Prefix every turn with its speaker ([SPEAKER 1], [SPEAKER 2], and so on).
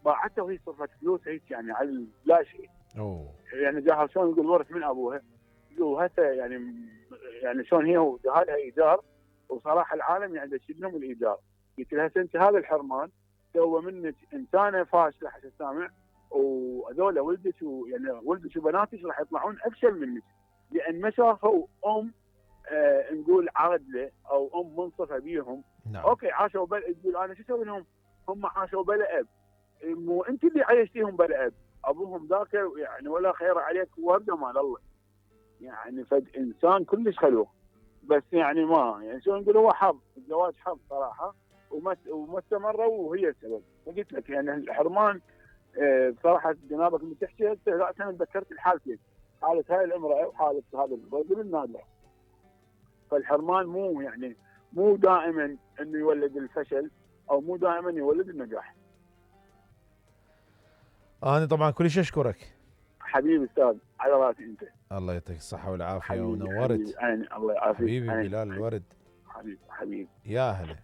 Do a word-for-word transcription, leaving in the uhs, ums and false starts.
[SPEAKER 1] باعته وهي صرفت فلوس هيك يعني على لا شيء.
[SPEAKER 2] اوه
[SPEAKER 1] يعني جاها شلون يقول ورث من ابوها، يقول هسه يعني يعني شلون هي وجهالها ايجار، وصراحه العالم يعني يشيل لهم الايجار. قلت لها انت هذا الحرمان سوى منك انسانه فاشله حسب سامع، وهذول ولدك يعني ولدك وبناتك راح يطلعون افشل منك، لان ما شافوا ام آه نقول عادله او ام منصفه بيهم.
[SPEAKER 2] نعم.
[SPEAKER 1] اوكي عاشوا بل تقول انا شو اسوي لهم؟ هم عاشوا بلا اب، مو انت اللي عايشتيهم بلا اب، ابوهم ذاك يعني ولا خير عليك وابدا مال الله. يعني فد انسان كلش خلوق، بس يعني ما يعني شو نقول هو حظ، الزواج حظ صراحه، وما وما استمروا وهي السبب. فقلت لك يعني الحرمان آه بصراحه جنابك اللي تحكي هسه لا انا تذكرت الحالتين، حاله هاي الامراه وحاله هذا الرجل النادر. فالحرمان مو يعني مو دائما انه يولد الفشل او مو دائما يولد النجاح.
[SPEAKER 2] انا طبعا كلش اشكرك
[SPEAKER 1] حبيبي استاذ، على راسي انت.
[SPEAKER 2] الله يعطيك الصحه والعافيه
[SPEAKER 1] حبيبي
[SPEAKER 2] ونورت
[SPEAKER 1] حبيبي عيني الله يعافيك.
[SPEAKER 2] حبيبي بلال الورد.
[SPEAKER 1] حبيبي حبيبي
[SPEAKER 2] يا هلا.